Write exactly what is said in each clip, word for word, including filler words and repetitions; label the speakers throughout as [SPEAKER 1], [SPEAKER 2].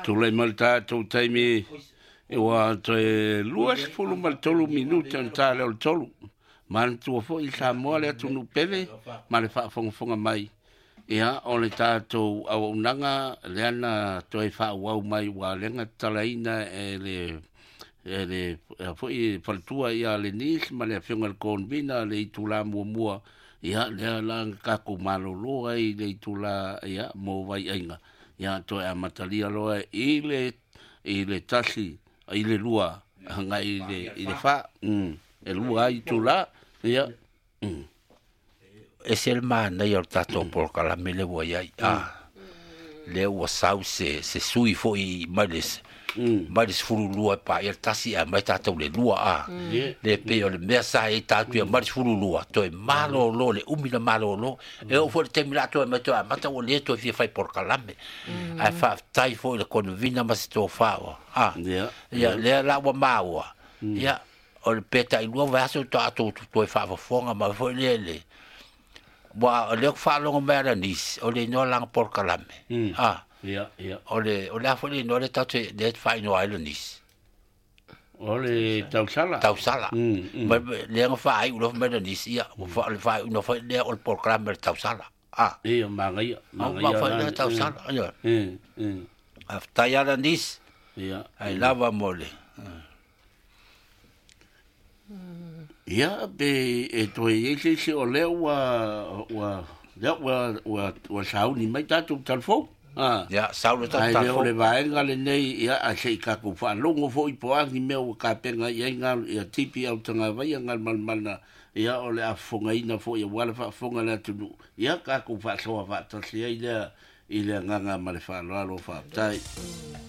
[SPEAKER 1] Tulai mai le tatou taimi ua toe luasefulu ma le tolu minute ona ta lea o le tolu. Manatua foi Samoa le atunuu pele ma le faafogafoga mai. Ia, o le tatou auaunaga lea na toe faaauau mai ua lea na tatalaina e le e le foi faletua ia Lenis ma le afioga i le Convena le itula muamua. Ia, lea la na tatou malolo ai le itula ia mo vaiaiga. Ia, toe amatalia loa i le i le tasi i le lua agai i le i le fa. Mm. E lua ai itula. Ia. Mm.
[SPEAKER 2] E se le manaia o le tatou polokalame le ua iai. Ah. Le ua sau se se sui foi mai le mai le sefulu lua e paia le tasi ae mai tatou le lua a. Le pei o le mea sa i tatou ia mai le sefulu lua toe malolo le umi na malolo. E oo foi le taimi la toe mai toe amata ua le toe fia fai polokalame. Ae faafetai foi le convena ma se tofā ua. Ah. Ia lea la ua maua. Ia o le peta i lua vaiaso tatou toe faafofoga ma foi le le ua o lea faalogo mai ala nisi o le igoa lana polokalame. Ah.
[SPEAKER 1] Ia, ia.
[SPEAKER 2] O le o le a foi le igoa le tatou le faaigoa ai le nisi.
[SPEAKER 1] O le tausala.
[SPEAKER 2] Tausala. Ma lea na faaiu loa mai le nisi ia ua fa le faaiu foi lea o le polokalame le tausala. Ah.
[SPEAKER 1] Ia magaia,
[SPEAKER 2] magaia. Ma foi le tausala. Ia.
[SPEAKER 1] Mm. Mm.
[SPEAKER 2] Faafetai ala nisi.
[SPEAKER 1] Ia.
[SPEAKER 2] Ai lava mo le.
[SPEAKER 1] Ia, pe e toe iai se isi o lea ua ua lea ua ua ua sauni mai tatou talafou. Ah.
[SPEAKER 2] Ia, sau le tatou
[SPEAKER 1] Ai lea o
[SPEAKER 2] talafou.
[SPEAKER 1] le vaega lenei, ia, a se i tatou faalogo foi po o a ni mea ua tapena i ai ngā ia tipi au tagavaia galumalemana, ia o le afofogaina foi aua le faafofoga le atunuu. Ia tatou faasoa faatasi ai lea i le agaga ma le faaaloalo faafetai.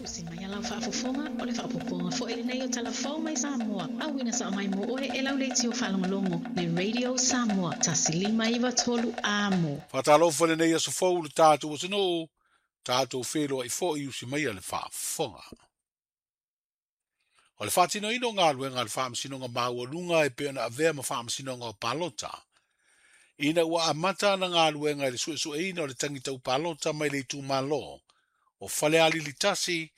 [SPEAKER 3] Usi mai ala o faafofoga o le faapopoga foi lenei o talafou mai Samoa. Auina sao mai mo oe e lau leitio faalogologo le Radio Samoa tasi lima iva tolu amo.
[SPEAKER 4] Faatalofa lenei aso fou le tatou atunuu, tatou feloai foi usi mai le faafofoga. O le faatinoina o galuega a le faamasinoga maualuga e pei ona avea ma faamasinoga o palota. Ina ua amata ana galuega i le suesueina o le tagi palota mai le itumalo o Falealili tasi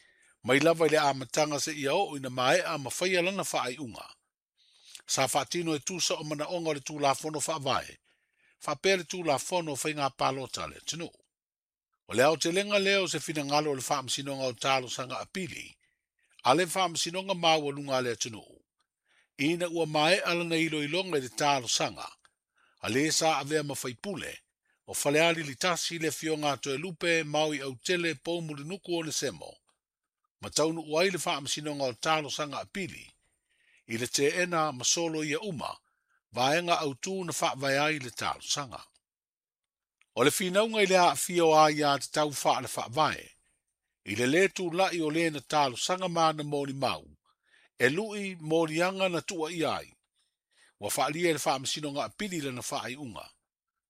[SPEAKER 4] mai lava i le amataga seia oo ina maea ma faia lana faaiuga. Sa faatino e tusa o manaoga o le Tulafono Faavae, faapea le Tulafono o Faiga Palota a le atunuu. O le aotelega lea o se finagalo o le faamasinoga o talosaga apili, a le faamasinoga maualuga a le atunuu. Ina ua maea lana iloiloga i le talosaga, a le sa avea ma faipule, o Falealili tasi le afioga a Toelupe Maui Autele Poumulinuku Onesemo, ma taunuu ai le faamasinoga o talosaga apili, i le teena ma solo ia uma, vaega autū na faavae ai le talosaga. O le finauga i le aafia o aiā tatau faale faavae, i le lē tula'i o lē na talosaga ma ana molimau, e lu'i moliaga na tuuaia ai. Ua faalia e le faamasinoga apili lana faaiuga.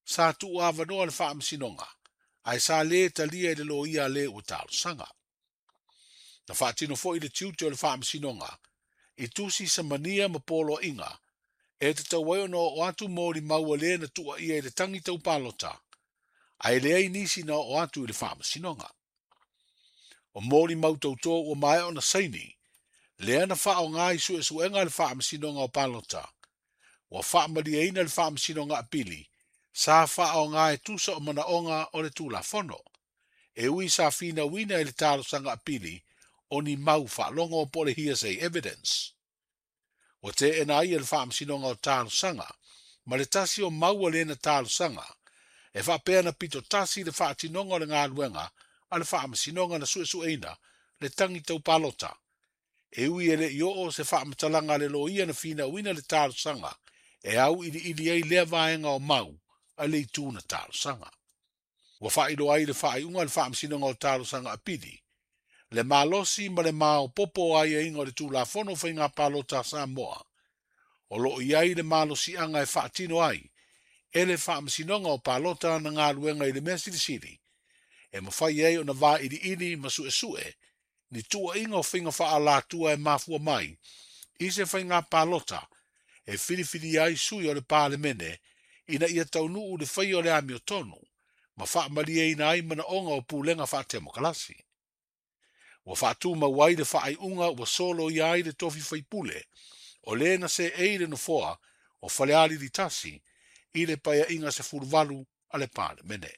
[SPEAKER 4] Sa tuu avanoa le faamasinoga, ae sa lē talia i le loia a lē ua talosaga. Na faatino foi le tiute o le faamasinoga, i tusi samania ma poloaiga, e tatau ai ona oo atu molimau a lē na tuuaia i le tagi taupalota, ae leai nisi na oo atu i le faamasinoga. O molimau tautō ua maea ona saini, lea na faaaoga i suesuega a le faamasinoga o palota, ua faamalieina le faamasinoga apili, sa faaaoga e tusa o manaoga o le Tulafono. E ui sa finauina i le talosaga apili o ni mau faalogo po o le hearsay evidence. Ua teena ai e le faamasinoga o talosaga, ma le tasi o mau a lena talosaga, e faapea na pito tasi le faatinoga o le galuega a le faamasinoga na suesueina le tagi taupalota. E ui e le i oo se faamatalaga a le loia na finauina le talosaga, e au iliili ai lea vaega o mau a le itu na talosaga. Ua faailoa ai le faaiuga a le faamasinoga o talosaga apili, le malosi ma le maopoopo o aiaiga o le Tulafono Faiga Palota a Samoa, o loo i ai le malosiaga e faatino ai e le faamasinoga o palota na galuega i le mea silisili, e mafai ai ona vailiili ma suesue ni tuuaiga o faiga faaalatua e mafua mai i se faiga palota e filifilia ai sui o le Palemene ina ia taunuu le faia o le amiotonu Ma faamalieina ai manaoga o pulega faatemokalasi. Ua faatumau ai le faaiuga ua soloia ai le tofi faipule, o lē na seei le nofoa o Falealili tasi i le paeaiga sefuluvalu a le Palemene.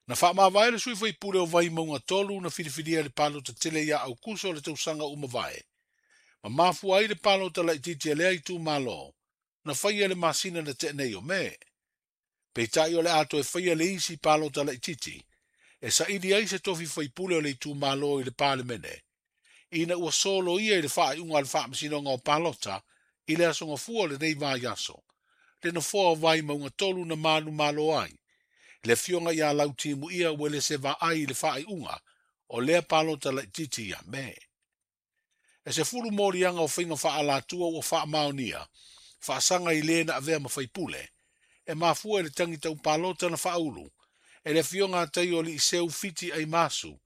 [SPEAKER 4] Na faamavae le sui faipule o Vaimauga tolu na filifilia le palota tele ia Aukuso o le tausaga uma vae. Ma mafua ai le palota laitiiti a lea itumalo na faia le masina na tea nei o Me. Peitai o le a toe faia le isi palota laitiiti e saili ai se tofi faipule o le itumalo i le Palemene, ina ua soloia i le faaiuga a le Faamasinoga o Palota i le aso Gafua o lenei vaiaso, le nofoa o Vaimauga tolu na manumalo ai, le afioga ia Lautimuia Uelese Vaai i le faaiuga o lea palota laitiiti ia Me. E sefulu moliaga o faiga faaalatua ua faamaonia, faasaga i le na avea ma faipule, e mafua i le tagi tau palota na faaulu, e le afioga a Taio Liiseu Fiti Aimasu,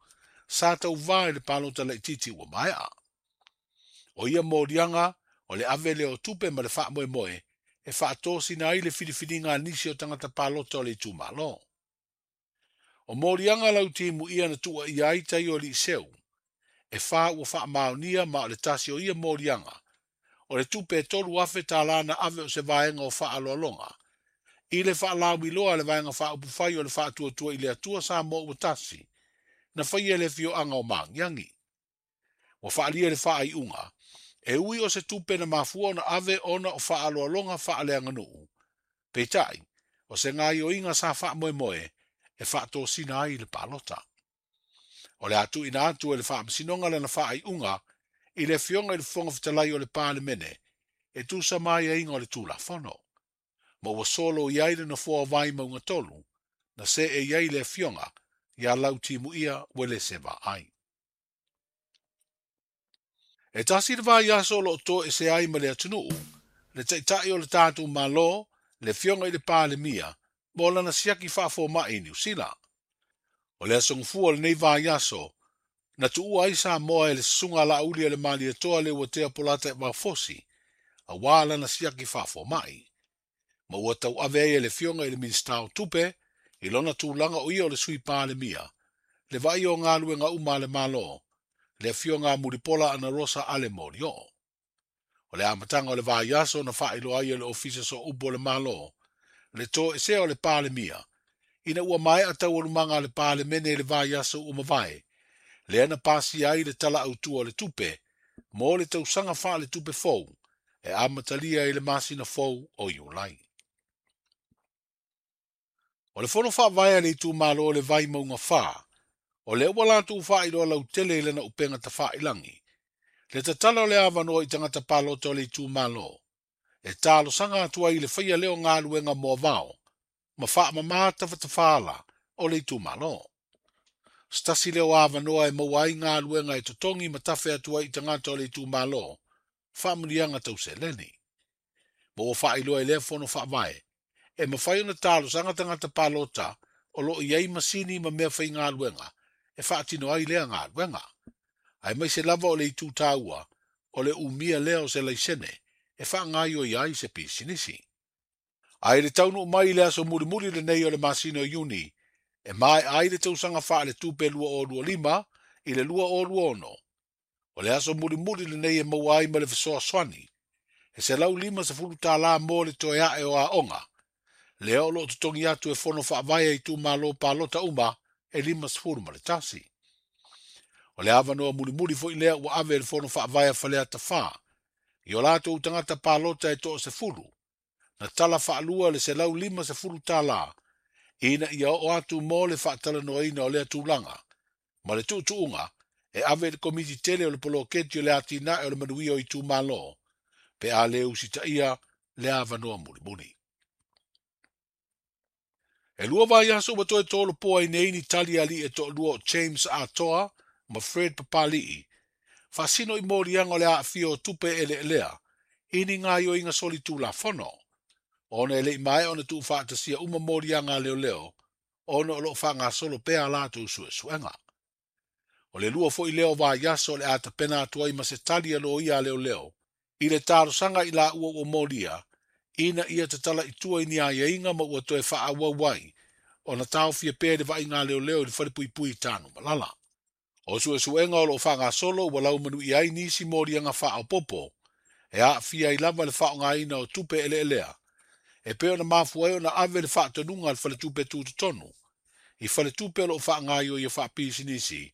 [SPEAKER 4] sa tauvā i le palota laitiiti ua maea. O ia moliaga o le ave lea o tupe ma le faamoemoe e faatosina ai le filifiliga a nisi o tagata palota o le itumalo. O moliaga Lautimuia na tuuaia ai Taio Liiseu, e fa ua faamaonia ma o le tasi o ia moliaga, o le tupe e tolu afe tālā na ave o se vaega o faaloaloga, i le faalauiloa a le vaega faaupufai o le faatuatua i le Atua Samoa ua tasi, na faia le afioaga o Magiagi. Ua faalia le faaiuga, e ui o se tupe na mafua ona ave ona o faaloaloga faaleaganuu. Peitai, o se gaioiga sa faamoemoe e faatosina ai le palota. O le atuina atu e le Faamasinoga lana faaiuga i le afioga i le Fofoga Fetalai o le Palemene e tusa ma aiaiga o le Tulafono. Ma ua solo i ai le nofoa o Vaimauga tolu, na see i ai le afioga ia Lautimuia Uelese Vaai. E tasi le vaiaso o loo toese ai ma le atunuu, le taitai o le tatou Malo, le afioga i le Palemia, mo lana siaki faafomai i Niu Sila. O le aso Gafua o lenei vaiaso, na tuua ai Samoa e le susuga Laauli a le Malietoa le Uatea Polata e Vaofosi, auā lana siaki faafomai. Ma ua tauave ai e le afioga i le Minisita o Tupe, i lona tulaga o ia o le sui Palemia, le vaai o galuega uma a le Malo, le afioga a Mulipola Anarosa Ale Molioo. O le amataga o le vaiaso na faailoa ai e le Ofisa Sooupu o le Malo, le toesea o le Palemia, ina ua maea taualumaga a le Palemene i le vaiaso ua mavae, lea na pasia ai le tala autua o le tupe, mo le tausaga faaletupe fou, e amatalia i le masina fou o Iulai. O le fono faavae a le itumalo o le Vaimauga fa, o lea ua latou faailoa lautele i lana upega tafailagi, le tatala o le avanoa i tagata palota o le itumalo, e talosaga atu ai i le faia lea o galuega moavao, ma faamamā tafatafala o le itumalo. Se tasi lea o avanoa e maua ai galuega e totogi ma tafe atu ai i tagata o le itumalo, faamuliaga tauseleni. Ma ua faailoa i lea fono faavae, e mafai ona talosaga tagata palota o loo i ai masini ma mea faigaluega e faatino ai lea galuega. Aemaise lava o le itu taua o le umia lea o se laisene e faagaoioi ai se pisinisi. Ae le taunuu mai i le aso mulimuli lenei o le masina o Iuni, e maea ai le tausaga faaletupe lua o lua lima i le lua o lua ono. O le aso mulimuli lenei e maua ai ma le fesoasoani, e selau lima sefulu tālā mo le toe ae o aoga, lea o loo totogi atu e fono faavae a itumalo palota uma e lima sefulu ma le tasi. O le avanoa mulimuli foi lea ua ave e le fono faavae a Faleata fa, i o latou tagata palota e toasefulu, na tala faalua le selau lima sefulu tālā, ina ia oo atu mo le faatalanoaina o lea tulaga, ma le tuutuuga e ave i le komiti tele o le poloketi o le atinae o le manuia o itumalo, pe a le usitaia le avanoa mulimuli. E lua vaiaso ua toe tolopoa ai nei ni tali alii e toalua o James Atoa ma Fred Papali'i, faasino i moliaga o le aafia o tupe eleelea, i ni gaoioiga solitulafono, ona e le'i maea ona tuufaatasia uma moliaga a leoleo, ona o loo faagasolo pea a latou suesuega. O le lua foi lea o vaiaso o le a tapena atu ai ma se tali a loia a leoleo, i le talosaga i laua ua molia, Ina ia tatala i tua i ni aiaiga ma ua toe faaauau ai ona taofia pea le vaaiga leoleo i le falepuipui i Tanumalala. O suesuega o loo faagasolo ua laumanuia ai nisi moliaga faaopopo e aafia ai lava le faaaogaina o tupe eleelea e pei ona mafua ai ona ave le faatonuga a le faletupe tutotonu i faletupe o loo faagaioia faapisinisi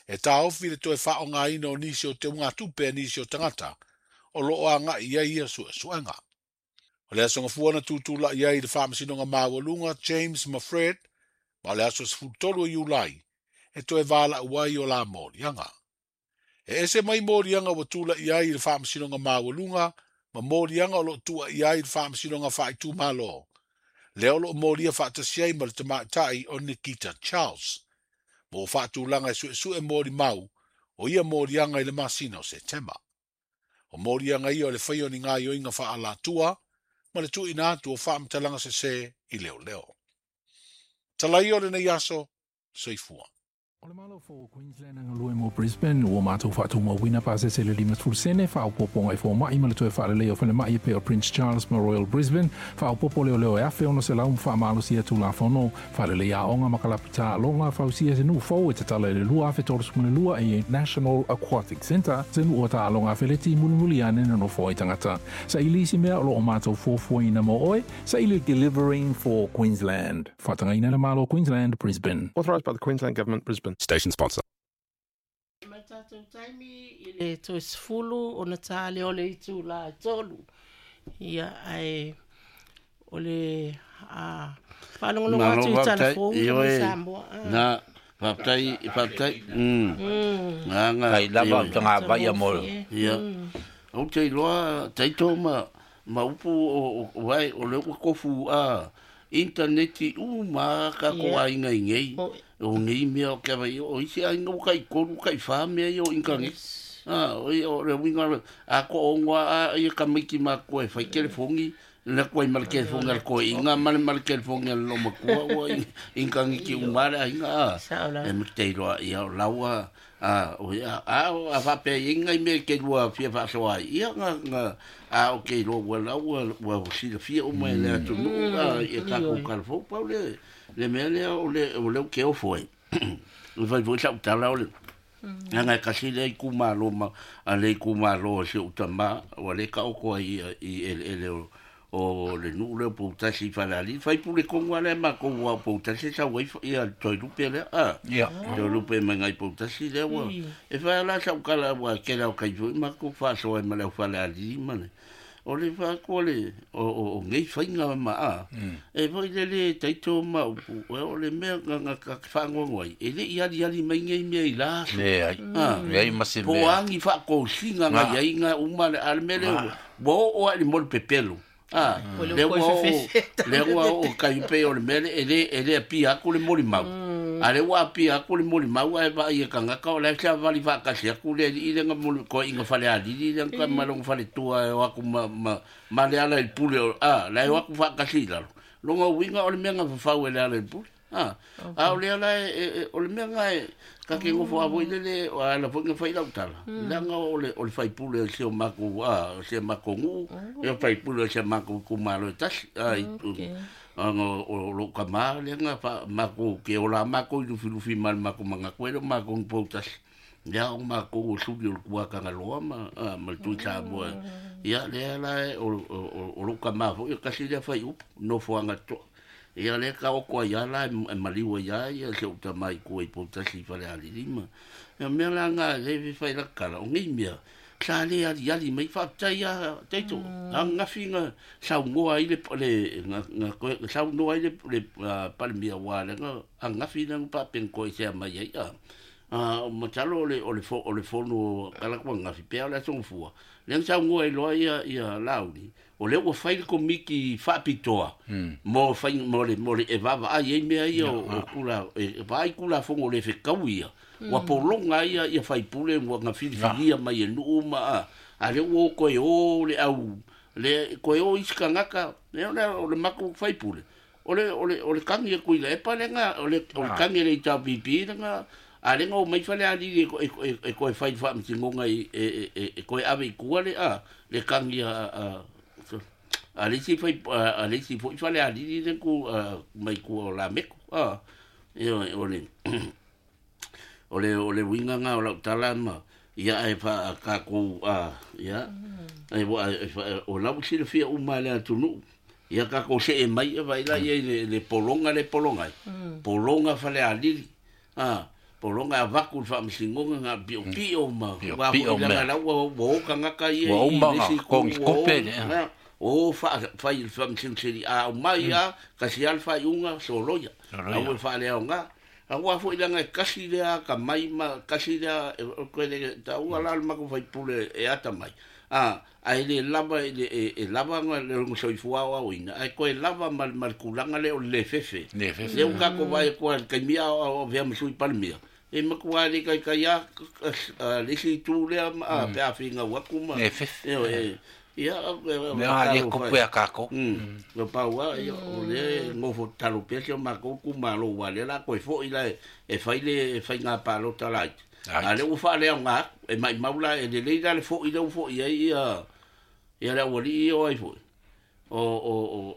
[SPEAKER 4] e taofi le toe faaaogaina o nisi o teugatupe a nisi o tagata o loo agai i ai ia suesuega. O le aso gafua na tutulai ai i le faamasinoga maualuga James Mafred ma o le aso sefulutolu o Iulai e toe valaau ai o la moliaga. E ese mai moliaga ua tula'i ai i le faamasinoga maualuga ma moliaga o loo tuuaia ai i le faamasinoga faaitumalo lea o loo molia faatasi ai ma le tamaitai o Nikita Charles ma ua faatulaga e suesue molimau o ia moliaga i le masina o Setema. O moliaga ia o le faia o ni gaoioiga faaalatua ma le tuuina atu o faamatalaga sesē i leoleo. Talaia o lenei aso, soifua.
[SPEAKER 5] O le malo fou o Queensland a galue mo Brisbane ua matou faatumauina pasese le lima sefulu sene faaopopoga i foma'i ma le toe faalelei o falema'i e pei o Prince Charles ma Royal Brisbane faaopopo leoleo e afe ono selau ma faamalosia tulafono faalelei aoga ma kalapu taaloga fausia se nuu fou e tatala i le lua afe tolusefulu ma le lua i National Aquatic Centre se nuu o taaloga afeleti mulimuli ane na nofo ai tagata saili isi mea o loo matou fuafuaina mo oe saili Delivering for Queensland faatagaina le malo Queensland Brisbane.
[SPEAKER 6] Authorised by the Queensland Government, Brisbane.
[SPEAKER 7] Station sponsor.
[SPEAKER 8] Mai tatou taimi i le toe sefulu ona ta lea o le itulā e tolu. Ia ae o le a faalogologo
[SPEAKER 1] Malo
[SPEAKER 8] atu i tala
[SPEAKER 1] faafetai.
[SPEAKER 8] fou
[SPEAKER 1] Ioe.
[SPEAKER 8] mai Samoa. Ah.
[SPEAKER 1] Na, faafetai, faafetai. Mm. Nga,
[SPEAKER 2] Kai lava
[SPEAKER 1] ioe.
[SPEAKER 2] tanga vaia mo.
[SPEAKER 8] Matagofie.
[SPEAKER 1] Ia. Ou te iloa taito ma ma upu o o vai o le ua kofu a interneti uma ka ko
[SPEAKER 8] Ia.
[SPEAKER 1] aiga i nei.
[SPEAKER 8] O-
[SPEAKER 1] O nei mea o ke vai o isi aiga ua kai kolu kai wha mea i o inkangi. Ah, o i o le winga a ko ongoa a ia ka maiki ma koe whai telefongi le koe ma le telefongi al koe inga ma le ma le telefongi al lo makua ua inkangi ki umare ainga a.
[SPEAKER 8] Sao la.
[SPEAKER 1] E me te iloa ia o laua a o ia a o a whape inga i me ke lua fia whaasoa ai. Ia nga nga a o ke iloa ua laua ua sila fia uma e le atu nuu a ia kako kalafou pau le le mea lea o le o le ke ofo ai. O fai foi sau tala o le Nga kasi le i kumalo ma a le i kumalo se utama o le ka o koa i i ele ele o o le nuu le poutasi i Falealili fai pule kongo ale ma ko ua poutasi sa ua ia toi lupe le a
[SPEAKER 2] Ia.
[SPEAKER 1] toi lupe mai ngai poutasi le ua e fai la sa ukala ua ke lau kai foi ma ko faasoa ai ma le au Falealili ma le o le faakoa le o o o ngei fainga ma a e foi le le taito ma upu o le mea nga nga ka whaangoango ai e le i ali ali mai ngei mea i la aso.
[SPEAKER 2] Le ai.
[SPEAKER 1] Ah.
[SPEAKER 2] Le ai ma se
[SPEAKER 1] Po
[SPEAKER 2] mea.
[SPEAKER 1] angi whaakousinga nga
[SPEAKER 2] Nga.
[SPEAKER 1] iai nga uma le ale mele ua o a le mole pepelo. Ah,
[SPEAKER 8] O le
[SPEAKER 1] le
[SPEAKER 8] koe
[SPEAKER 1] ua o
[SPEAKER 8] fefefe.
[SPEAKER 1] le ua o kai pe o le mele e le e le apia aku le moli mau. A le ua apia aku le moli mau ai va ia kangaka o le sa vali whaakasi aku le i le nga moli ko inga fale alili le nga malonga fale tua e o aku ma ma ma le ala i pule o ah le o aku whaakasi lalo. Longa winga o le mea nga whawhau e le ala i pule. Ah, a o le ala e, e, e- o le mea nga e ka ke ngofo a voi le le o ala foi nga whai lau tala. Langa o le o le whai pule o se o mako a o se mako ngu e o whai pule o se mako kumalo e tasi. A, i,
[SPEAKER 8] Okay.
[SPEAKER 1] anga o lo ka ma le nga fa mako ke o la mako i lufi lufi ma le mako manga koe lo mako ng poutasi. Ia o mako o suli o le kuakanga loa ma a, ma le tui Samoa. Ia le ala e o o o- o lo ka ma foi o kasi lea whai upu nofo anga toa. Ia le ka oko ia la e maliua ia ia se uta mai kua i poutasi i fale alili ma. Ia mea la nga le fi whai la kala o ngei mea. Sa le ali ali mai whaatai a teito. A ngafi nga sau ngoa i le le nga nga koe sau noa i le le ah, palemia wa le nga a ngafi nga pa pen koe se a mai ai a. A o matalo o le o le fo o le fono kala kwa ngafi pea o le aso fua. Le nga sau ngoa i loa ia ia lauli. O le ua whai le komiki whaapitoa. Mo whai mo le mo le e vava ai ai mea ia o, o kula e vai kula fongo le whekau ia. Ua polonga ia ia whai pule ua nga filifilia mai e nuu ma a. A le ua o koe o le au le koe o isi kangaka le o le o le mako whai pule. O le o le o le kangi e kui le epa le nga o le o le kangi le i tau pipi le nga a le nga o mai whale ali e e e e koe whai wha mtingonga i e e e e koe ave i kua le a le kangi a a A le isi fai a le isi foi Falealili le ku mai ku o Lameko a ia o le o le o le uiga ga o lau tala ma ia e fa ka ku a ia e o lau silafia uma le atunuu ia ka ko se e mai e vai la ia le le polonga le polonga polonga Falealili a polonga avaku le faamasinoga ga piopio ma ua foʻi la ua ua o kagaka ia i le isi o fai le faamasinosili a aumai a kasi a le faaiuga soloia au e faaleaoga auā foʻi laga e kasi lea ka mai ma kasi lea koe le taua la le makou faipule e ata mai a ae lē lava e lava le soifua aoaoina ae koe lava ma le kulaga lea o le lē fefe lea ua tatou vaai atu ai i le taimi a o avea ma sui palemia e matua le kaikai a le isi itu lea pe a figau atu ma e ia
[SPEAKER 2] mea le kope a kākou
[SPEAKER 1] o paua ia o le gofo talo pea si o makou kumalo ua lea la koe foʻi la e fai le faiga palota laiti a lea ua faaleaoga atu e maʻimau la e lelei la le foʻi lea ua foʻi ai ia ia le aualii ia o ai foʻi o o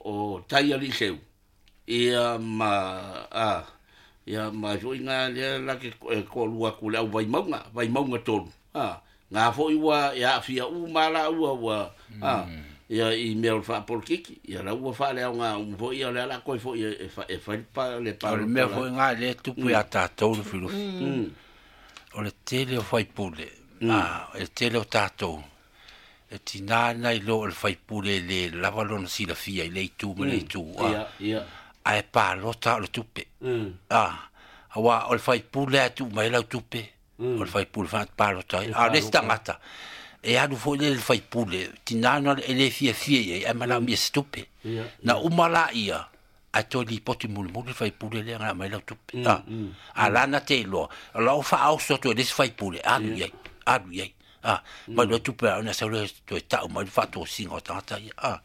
[SPEAKER 1] o tai alii ia ma a ia ma foʻi ga lea la ke koʻalua atu le au vaimauga vaimauga tolu a ngā foʻi ua e aafia uma laua ua a ia i mea o le faapolokiki ia la ua faaleaoga uma foʻi ia o lea la koe foʻi e fai le
[SPEAKER 2] o le mea foʻi ga lea tupu iā tatou Lufilufi o le tele o faipule a e tele o tatou e tinā nai lo o le faipule le lava lona silafia i le itu ma le itu a ae palota o le tupe a auā o le faipule a tuu mai lau tupe o le faipule palota ai a o le isi tagata e alu foʻi lea i le faipule tinā na e lē fiafia i ai ae manaomia se tupe na uma laia ae toe lipoti mulimuli le faipule lea na aumai lau tupe a a lana te iloa o lau faaoso atu e le isi faipule alu i ai alu i ai a mai loa tupe a ona sau lea toe taʻu mai le faatosiga o tagata ia a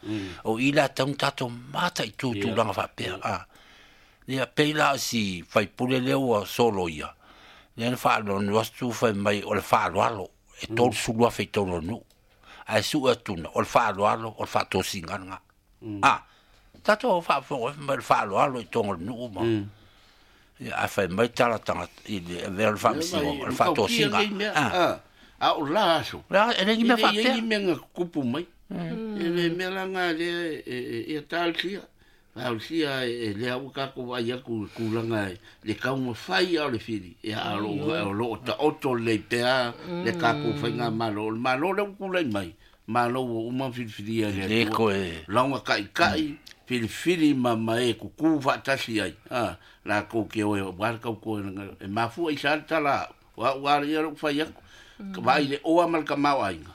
[SPEAKER 2] o i la tauna tatou mataʻi tulaga faapea a ia pei la o si faipule lea ua solo ia lea na faalonu atu fai mai o le faaaloalo e tolu sulu afe i tolu o le nuu ae suʻe atuna o le faaaloalo o le faatosiga lena a tatou faafofoga mai le faaaloalo i toga o le nuu ma ia ae fai mai tala tagata i le avea o le faamasinoga o le faatosiga a
[SPEAKER 1] a o la aso
[SPEAKER 2] e le ni mea faapea
[SPEAKER 1] ni mea kupu mai e le mea laga lea ia talosia talosia e lea ua tatou vaai atu i tulaga le taumafai a o le fili ia a o loo taoto lelei pea le tatou faigamalo o le malo lea ua tulai mai malo ua uma filifilia e le Atua lauga taʻitaʻi filifili ma ma e kukū faatasi ai a latou ke oe ua le tautoe e mafua i sa le tala o au a ia lou fai atu vaai le oa ma le tamaoaiga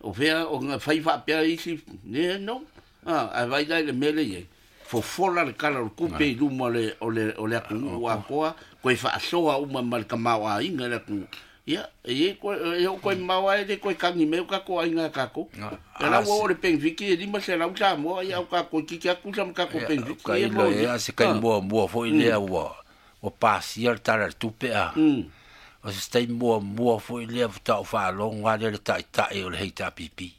[SPEAKER 1] o fea o fai faapea isi ne no a ae vai la i le mea le iai fofola le kala o le kupe i luma o le o le o le atunuu atoa koe faasoa uma ma le tamaoaiga le atunuu ia e koe e o koe mau ai le koe kagi mai o tatou aiga a tatou e la ua oo le penefiki e lima selau Samoa ia o tatou kiki atu sa ma tatou penefiki
[SPEAKER 2] ia ia se kai muamua foʻi lea ua ua pasia le tala le tupe a o se taimi muamua foʻi lea faatoa ou faalogo a lea le taʻitaʻi o le H R P P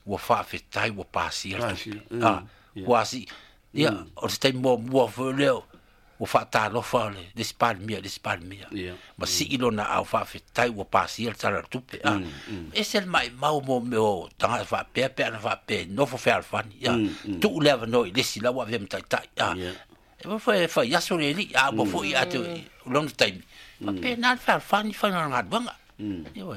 [SPEAKER 2] ua faafetai ua pasia le tupe a ua asi ia o se taimi muamua foʻi lea ua faatalofa le le isi palemia le isi palemia ma sii lona ao faafetai ua pasia le tala o le tupe a ese le maʻimau mo mea o tagata faapea pe ana faapea nofo fealofani ia tuu le avanoa i le isi la ua avea ma taʻitaʻi a e fai fai aso le alii a ua foʻi ate lona taimi faapena le fealofani faiga o le galuega ioe.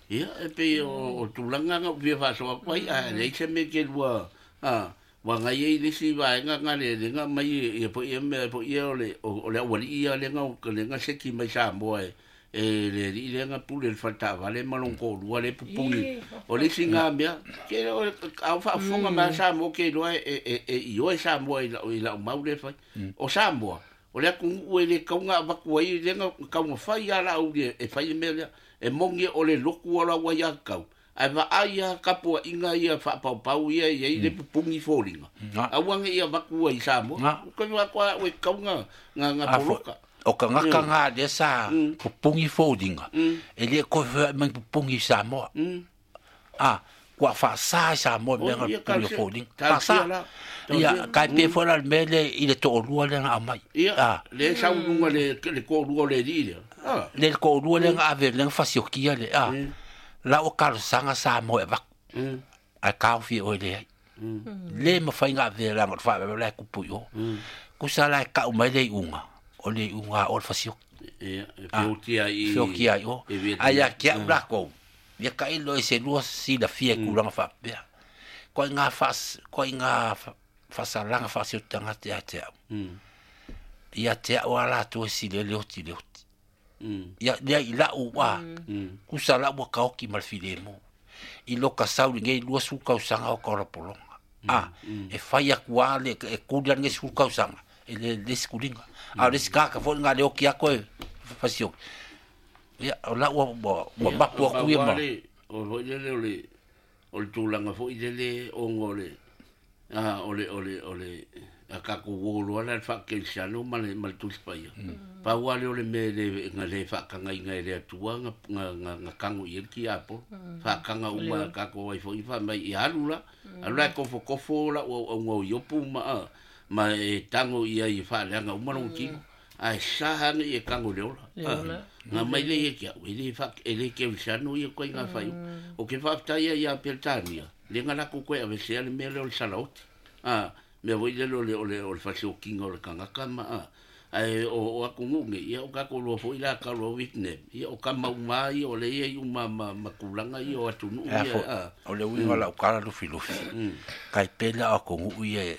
[SPEAKER 1] Ia e pei o tulaga ga ua fia faasoa atu ai ae leai se mea ke lua a ua agai ai le isi vaega ga le lega mai ia foʻi ia mea foʻi ia o le o le aualii ia lega lega seki mai Samoa e e le alii lea pule le faletaavale ma lona toalua le pupuni o le isi ga mea ke o a faafofoga mai Samoa ke iloa e e e ioe Samoa i lau i lau mau le fai o Samoa o le atunuu e le kauga avatu ai lega taumafai a laau e fai le mea lea e moni o le lotu o lau ai akau ae vaai a kapuaʻiga ia faapaupau ia iai le pupuni foliga aua ne i avatu ai Samoa koe atoa e kauga ga ga poloka
[SPEAKER 2] o kagaka ga lea sa pupugi foliga e lē koe feoaʻi mai pupugi i Samoa a Kua whaasa i sa moe mea ngā puli o fōlinga. Whaasa. Ia, kai pe fo la me le i le to'olua le nga amai.
[SPEAKER 1] Ia, le saulunga le le ko'olua le li le.
[SPEAKER 2] Le ko'olua le nga ave le nga fasiokia le. La o kalosanga sa moe vaku. Ai kaofi oe le ai. Le mawhai ngā ave la ngā wha la kupu i o. Kusa la kau mai le unga. O le unga o le fasioki.
[SPEAKER 1] Ia, fiokia i.
[SPEAKER 2] Fiokia i o. Ai a kia ula kou. Ia ka ilo e se lua si la fia kulanga whapea. Koe ngā whas, koe ngā whasalanga whasi o tangata ia te au. Ia te au a lātou e si le leoti leoti. Ia lea i lau wā, kusa lau wa kaoki ma le file mo. I loka sauri ngei lua su kausanga o kaorapolonga. A, e whai aku a le, e kuri ange su kausanga. E le lesi kuringa. A lesi kaka fo ngā leoki ako e whasioki. Ia, o la ua ua mapu aku ia ma.
[SPEAKER 1] O foi lele o le o le tulaga foi lele ona o le a o le o le o le a kako wolo ala le whaakelisano ma le ma le Tusi Paia. Pau ale o le me le nga le whaakanga inga e le atua nga nga nga kango i elki apo. Whaakanga uma kako ai foi wha mai i alu la. Alu la kofo kofo la o o iopu ma ma e tango ia i whaaleanga uma longo tino. Ai saha ni e kango le ola. Ngā mai le e kia, e le wha, e le keulisano ia koe ngā whai. O ke whaaptaia ia Peltania, le ngā lako koe awesea le mea le o le salaoti. A, mea voi le o le o le o le whaseokinga o le kangaka ma a. Ai o o aku ngunge, ia o kako loa foi la ka loa Vietnam. Ia o ka mauma ia o le ia i uma ma makulanga ia o atunu ia.
[SPEAKER 2] O le uinga la ukala lufi lufi. Kai pela o kongu ia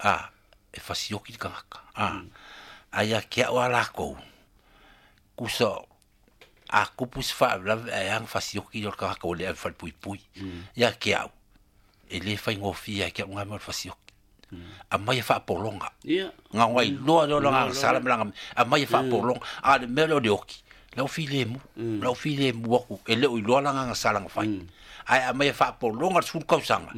[SPEAKER 2] a e whaseoki kangaka. A. Ai a kia o lākou. Kusa a kupu se whaawlawe a eang whasioki o le kangaka o le au whalpui pui. Ia kia au. E le whaingofia kia unga mea o le whasioki. A mai e whaapolonga. Ngā ngai loa leo langa sala melanga. A mai e whaapolonga. A le mea leo le oki. Lau file mu. Lau file mu aku. E leo i loa langa ngā sala ngā whai. Ai a mai e whaapolonga le sulu kausanga.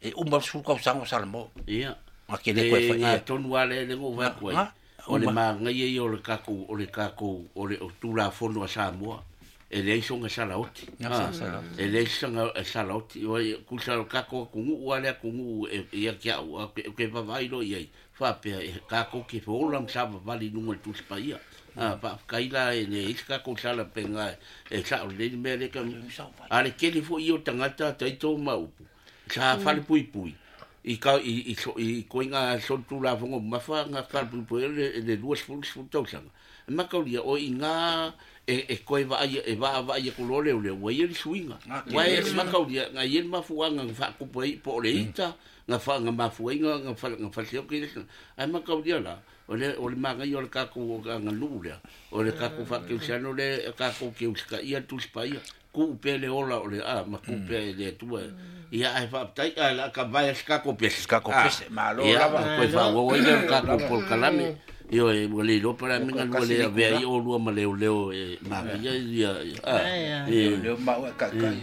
[SPEAKER 2] E uma le sulu kausanga o sala mo. Ngā ke le koe whai.
[SPEAKER 1] Ngā tonu ale le ngō whai koe. O le maangai ia o le kako o le kako o le o tulafono a Samoa e leai soga salaoti. E leai soga salaoti o kusa o kako akunuu a le akunuu e ia kia au ke vavai lo iai faapea e kako ke feola ma savavali i luga o le Tusi Paia. A faafekai la e le isi kako sala penga e sao lelei mea le ka a le kele foi o tagata taito ma upu sa falepuipui i ka i i i koinga so tulafono mafa nga falepuipui le le lua sefulu sefulu tausaga makaulia o i ngā e e koe vaai e vaavaai aku loa leo leo ua ia le suiga ua e makaulia ga ia le mafuaga ga faakupu ai po o le ita ga fa ga mafuaiga ga fa ga fasioki le ai makaulia la o le o le magai o le kako ga nuu lea o le kako faakeusiano le kako keusikaia Tusi Paia ku pe le ola o le a ma ku pe le atua ia ai faaptai a la ka vai se kako pese
[SPEAKER 2] kako pese malo lava
[SPEAKER 1] koe faauau ai le kako polokalame io e ua le iloa pala mega lua le avea ai o lua ma leoleo e magia ia
[SPEAKER 2] a leo mau e kaikai.